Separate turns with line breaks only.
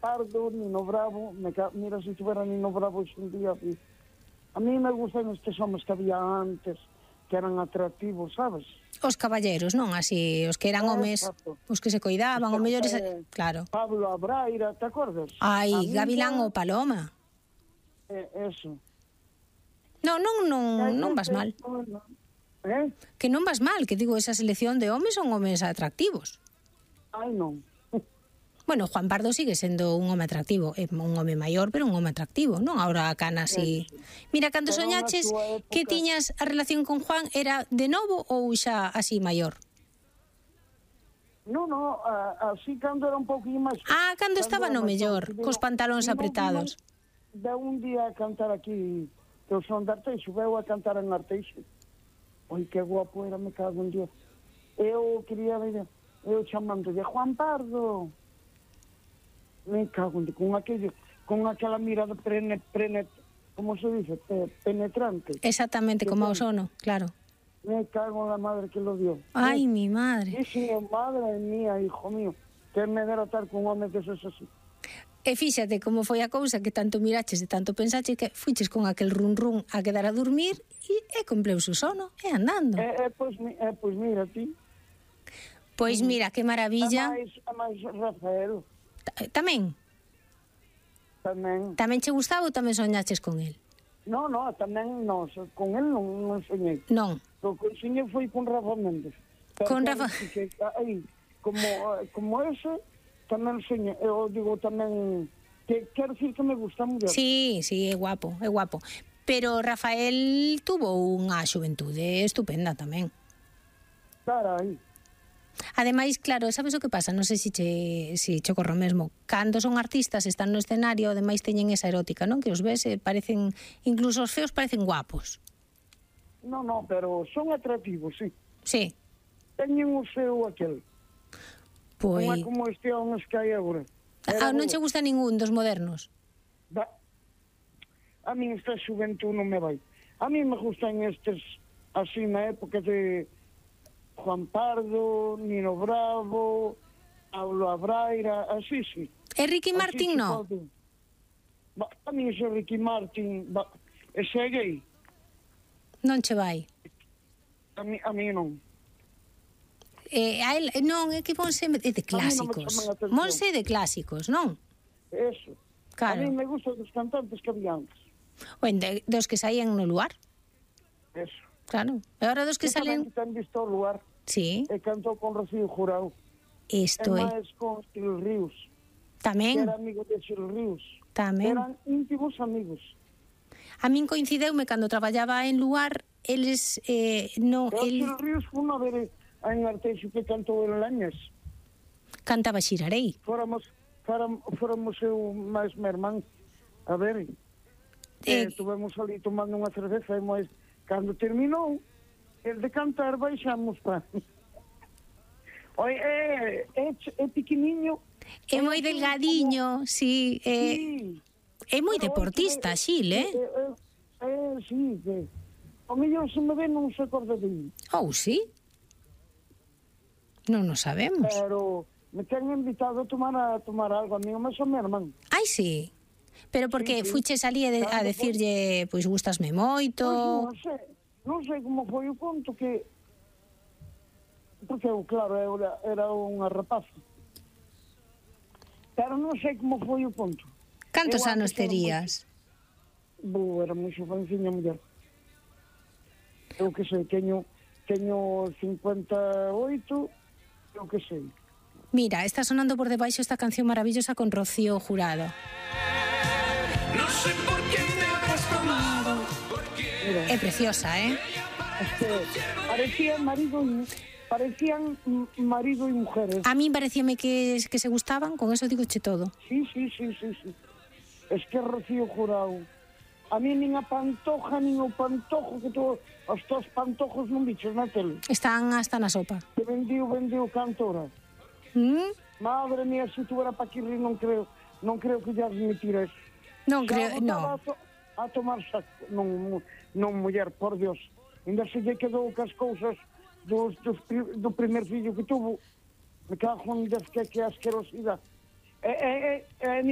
Pardo, Nino Bravo, mira se tuvera Nino Bravo hoxe en día. A mí me gustan estes homes que había antes, que eran atractivos, sabes?
Os caballeros, non? Así, os que eran homes, os que se coidaban, os mellores, claro.
Pablo Abraira, te acordas?
Ai, Gavilán ou Paloma.
Eso.
Non vas mal. Que non vas mal, que digo, esa selección de homes son homes atractivos.
Ai, non.
Bueno, Juan Pardo sigue sendo un home atractivo, un home maior, pero un home atractivo, non? Ahora a Cana así... Mira, cando soñaches que tiñas a relación con Juan, era de novo ou xa así maior?
Non, así cando era un pouquinho máis...
Cando estaba no mellor, cos pantalóns apretados.
Veu un día a cantar aquí, que eu son de Arteixo, veu a cantar en Arteixo. Oi, que guapo era, me cago en Dios. Eu quería ver, eu chamando de Juan Pardo. Me cago en Dios, con aquela mirada como se dice, penetrante.
Exactamente, como o sono, claro.
Me cago en la madre que lo dio.
Ai, mi madre.
Sí, madre mía, hijo mío, que me dera estar con homes deses así.
E fíxate como foi a cousa que tanto miraches e tanto pensaches que fuiches con aquel run a quedar a dormir e cumpleu o sono, e andando.
Pois mira, ti.
Pois mira, que maravilla.
A máis Rafael.
Tamén? Tamén che gustaba ou tamén soñaches con el?
Non, tamén non, con el non soñei.
Non.
O que soñei foi con Rafa Méndez.
Con Rafa...
Como ese, tamén soñei, eu digo tamén, que quero dicir que me gusta moi.
Sí, é guapo, é guapo. Pero Rafael tuvo unha xuventude estupenda tamén.
Carai.
Ademais, claro, sabes o que pasa? Non sei se che ocorre o mesmo. Cando son artistas, están no escenario, ademais teñen esa erótica, non? Que os ves, parecen, incluso os feos parecen guapos.
Non, pero son atractivos, sí.
Sí.
Teñen o seu aquel.
Pois...
Non é como este homes que hai agora.
Non che gusta ningún dos modernos?
A mí esta xuventud non me vai. A mí me gustan estes, así na época de Juan Pardo, Nino Bravo, Pablo Abraira, así, sí.
E Ricky Martin, non?
A mí ese Ricky Martin, ese é gay.
Non che vai?
A mí non.
A él, non, é que Monse é de clásicos. Monse é de clásicos, non?
Eso.
Claro.
A mí me gustan dos cantantes que había antes.
Dos que saían no lugar.
Eso.
Claro. E ahora dos que salen...
Eu tamén visto o lugar.
Sí.
E cantou con Rocío Jurado.
Isto é.
E máis con Sil Ríos.
Tamén.
Que era amigo de Sil Ríos.
Tamén.
Eran íntimos amigos.
A min coincideume cando traballaba en lugar, eles...
Sil Ríos foi unha vez en Arteixo que cantou en Lañas.
Cantaba Xirarei.
Fóramos eu máis meu irmán. A ver, tuvemos ali tomando unha cerveza e máis, cando terminou, el de cantar baixamos pa... Oi, é pequeniño.
É moi delgadiño, sí. É moi deportista, Xil,
Sí, que... O mellor se me ve non se acorda de mí.
Sí? Non nos sabemos.
Pero me ten invitado a tomar algo a mí, mas o meu irmán.
Ai, sí. Pero porque fuches ali a decirlle, pois gustasme moito...
Non sei como foi o conto que... Porque eu, claro, era unha rapaza. Pero non sei como foi o conto.
Cantos anos terías?
Era moi xovenciña muller. Eu que sei, teño 58, eu que sei.
Mira, está sonando por debaixo esta canción maravillosa con Rocío Jurado.
No sé por qué me habrás tomado.
É preciosa,
Parecían marido e mujeres.
A min parecíame que se gustaban, con eso digo che todo.
Sí. Es que Rocío Jurado. A mí nin a Pantoja, nin o Pantojo, que os tos pantojos non bichos na tele.
Están hasta na sopa.
Que vendiu cantora. Madre mía, se tu era pa que rir, non creo que ya admitira eso.
Non creo, non.
A tomar saco, non muller, por Dios. Ainda se lle quedou cas cousas do primer fillo que tuvo. Me cago en Dios, que asquerosidade.